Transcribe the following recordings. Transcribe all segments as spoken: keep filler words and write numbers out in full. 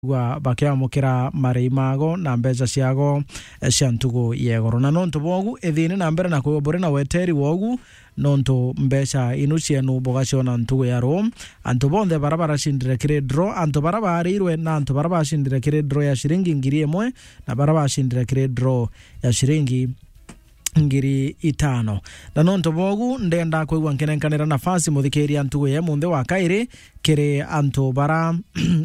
kwigua bakiamukira marei mago na mbeca ciago, eh, cia ntugu ya igoro. Na nontu bwogu, ithiini na mbere na kwigua buri na weteri wogu, nontu mbeca inu cienu bugaciona ntugu ya ruu. Antu bonthe bara baracindire kiri draw, antu bara baarirwe na antu bara bacindire kiri draw ya ciringi ngiri imwe, na bara bacindire kiri draw ya ciringi ngiri itano. Na nontu bwogu, ndenda kwigua nkinenkanira nafasi muthikiria ntugu ya munthi wa kairi kiri antu bara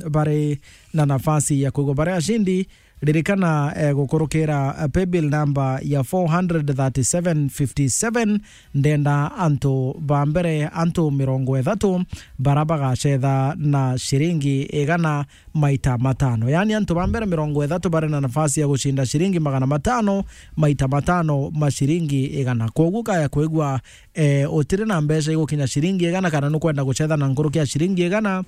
bari na nafasi ya kwigua bari acindi. Ririkana, eh, gukurukira, eh, paybill number ya four hundred thirty-seven fifty-seven. Ndenda antu ba mbere, antu mirongo ithatu bara bagacetha na ciringi igana maita matano. Yaani, antu ba mbere mirongo ithatu bari na nafasi ya gucinda ciringi magana matano maita matano ma ciringi igana. Kwogu kaya kwigua, eh, utiri na mbeca igukinya ciringi igana, kana nukwenda gucetha na nkuruki ya ciringi igana,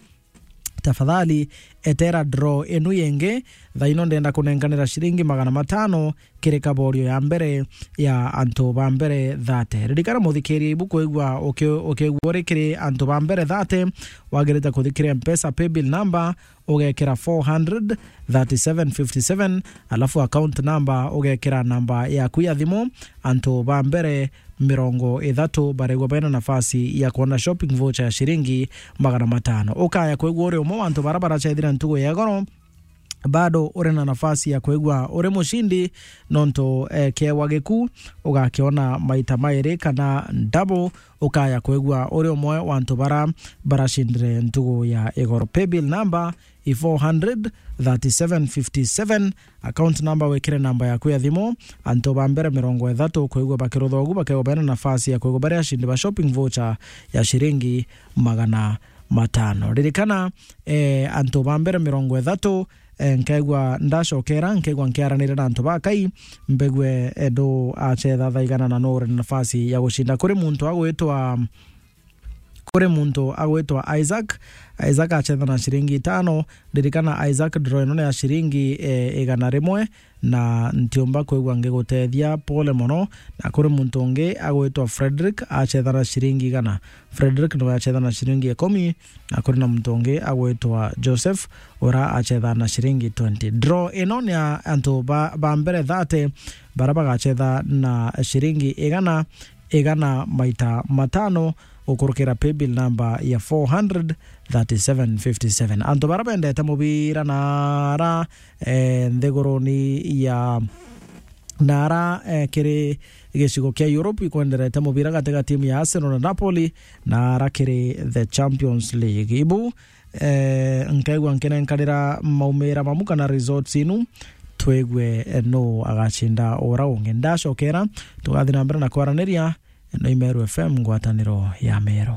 tafadhali etera draw inu yingi. Thaino ndenda kunenkanira ciringi magana matano kiri kaborio ya mbere ya antu ba mbere thate. Ririkana muthikiria, ibu kwigua uki-, ukigua uri kiri antu ba mbere thate, wagirite kuthikiria Mpesa paybill number, ugekira four hundred thirty-seven fifty-seven, alafu account number ugekira namba yaku ya thimu. Antu ba mbere mirongo ithatu barigwa bena nafasi ya kuona shopping voucher ya ciringi magana matano. Ukaya kwigua uri umwe wa antu bara baracethire ntugu ya igoro, bado uri na nafasi ya kwigua uri mucindi, nontu, eh, kiewa giku ugakiona maita mairi kana double. Ukaya kwigua uri umwe wa antu bara baracindire ntugu ya igoro. Paybill number i four hundred thirty-seven fifty-seven, account number wikire namba yaku ya thimu. Antu ba mbere mirongo ithatu kwigua bakirutha ugu bakegwa bena nafasi ya kwigua bari acindi ba shopping voucher ya ciringi magana matano. Ririkana, eh, antu ba mbere mirongo ithatu, eh, nkaigua ndacokera, nkaigua nkiaranire na antu ba Kai, mbegue, eh, ndu acetha thaa igana na nu uri na nafasi ya gucinda. Kuri muntu agwitwa, kuri muntu agwitwa Isaac. Isaac acetha na ciringi itano. Ririkana, Isaac, draw ino ni ya ciringi, eh, igana rimwe, na ntiumba kwigua ngigutethia, pole mono. Na kuri muntu ungi agwitwa Frederick, acetha na ciringi igana. Frederick niwe acetha na ciringi ikumi, na kuri na muntu ungi agwitwa Joseph, ura acetha na ciringi twenty. Draw ino ni ya antu ba, ba mbere thate, bara bagacetha na ciringi igana, igana maita matano, gukurukira paybill number ya four hundred thirty-seven fifty-seven. Antu bara bendete mubira na ara, eh, nthiguruni ya na ara, eh, kiri gicigo kia Europe ikwenderete mubira gati ga timu ya Arsenal na Napoli, na ara kiri the Champions League. Ibu, eh, nkaigua nkinenkanira maumira mamu kana results inu, twigue, eh, nu agacinda ura ungi. Ndacokera, tugathi na mbere na kwaraniria, ino i Meru F M, ngwataniro ya Meru.